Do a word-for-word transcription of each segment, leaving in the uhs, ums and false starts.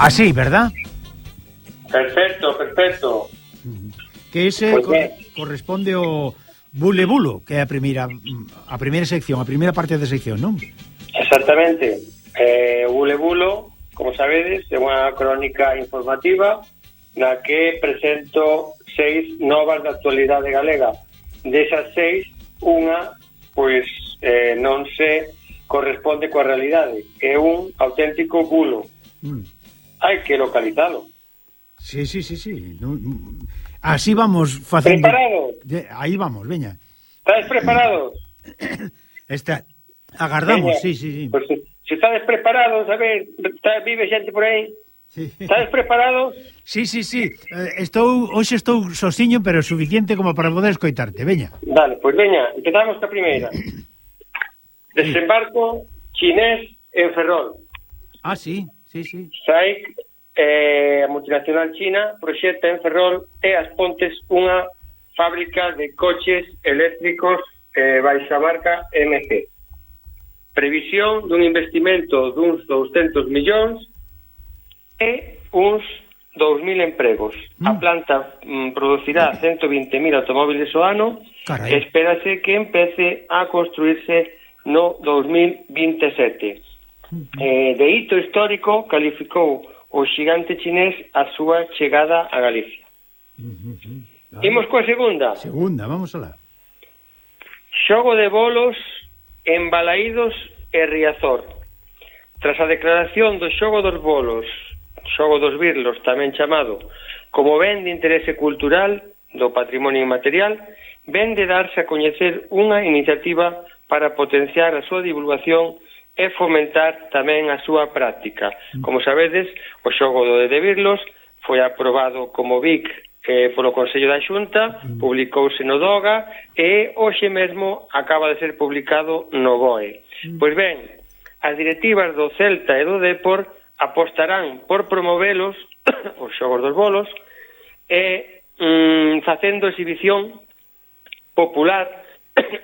Así, ¿verdad? Perfecto, perfecto. Que ese Pues co ben. corresponde ao Bule Bulo, que é a primeira a primeira sección, a primeira parte da sección, non? Exactamente. Eh, o Bule Bulo, como sabedes, é unha crónica informativa na que presento seis novas da actualidade galega. Desas seis, unha, pois, eh, non se corresponde coa realidade. É un auténtico bulo. Mm. Hai que localizalo. Sí, sí, sí, sí. No, así vamos facendo. Preparados? Aí vamos, veña. Estáis preparados? Está, agardamos, veña. sí, sí, sí. Pues, se estáis preparados, a ver, está, vive xente por aí. Sí. Estáis preparados? Sí, sí, sí. Eh, estou, hoxe estou sosiño, pero suficiente como para poder escoitarte, veña. Vale, pois pues veña, empezamos ca primeira. Desembarco chinés en Ferrol. Ah, sí, sí, sí. SAIC, eh, a multinacional china, proxecta en Ferrol e As Pontes unha fábrica de coches eléctricos eh, baixa marca M G. Previsión dun investimento duns douscentos millóns e uns dous mil empregos. Mm. A planta mm, producirá ciento vinte mil automóviles ao ano. Carai. E espérase que empece a construirse no dos mil vinte e sete. Mm-hmm. Eh, de hito histórico calificou o xigante chinés a súa chegada a Galicia. Mm-hmm. Ah. Imos coa segunda. Segunda, vamos alá. Xogo de bolos en Balaídos e Riazor. Tras a declaración do xogo dos bolos, xogo dos birlos, tamén chamado como ben de interese cultural do patrimonio inmaterial, ven de darse a coñecer unha iniciativa para potenciar a súa divulgación e fomentar tamén a súa práctica. Como sabedes, o xogo do de birlos foi aprobado como B I C eh, polo Consello da Xunta, publicouse no DOGA e hoxe mesmo acaba de ser publicado no B O E. Pois ben, as directivas do Celta e do Depor apostarán por promovelos, os xogos dos bolos, e mm, facendo exhibición popular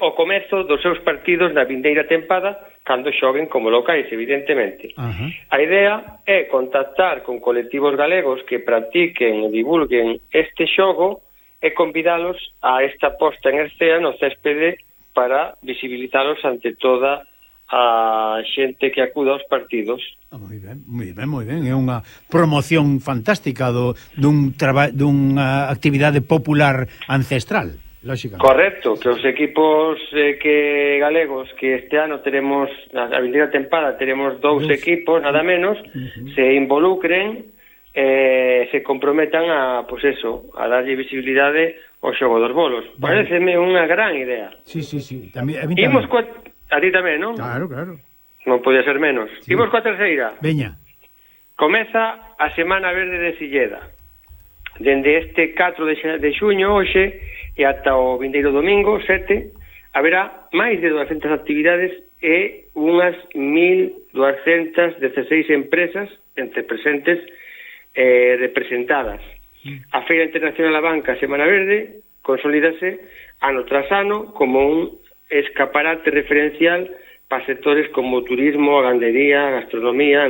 o comezo dos seus partidos na vindeira tempada cando xoguen como locais, evidentemente. Uh-huh. A idea é contactar con colectivos galegos que practiquen e divulguen este xogo e convidalos a esta posta en escena no céspede para visibilizalos ante toda a xente que acuda aos partidos. Ah, moi ben, moi ben, moi ben. É unha promoción fantástica do, dun traba, dunha actividade popular ancestral. Lógicamente. Correcto, que os equipos eh, que galegos que este ano teremos, a vindeira tempada teremos dous Dos. equipos, nada menos, uh-huh. se involucren eh, se comprometan a, pues eso, a darlle visibilidade ao xogo dos bolos. Vale. Pareceme unha gran idea. Sí, sí, sí. Tamén, a Imos coa... A ti tamén, non? Claro, claro. Non podía ser menos. Sí. Imos coa terceira. Veña. Comeza a Semana Verde de Silleda. Dende este catro de xuño, hoxe, e ata o vindeiro domingo, sete, haberá máis de duascentas actividades e unhas mil duascentas dezaseis empresas entre presentes eh, representadas. A Feira Internacional da Banca Semana Verde consolídase ano tras ano como un escaparate referencial para sectores como turismo, gandería, gastronomía,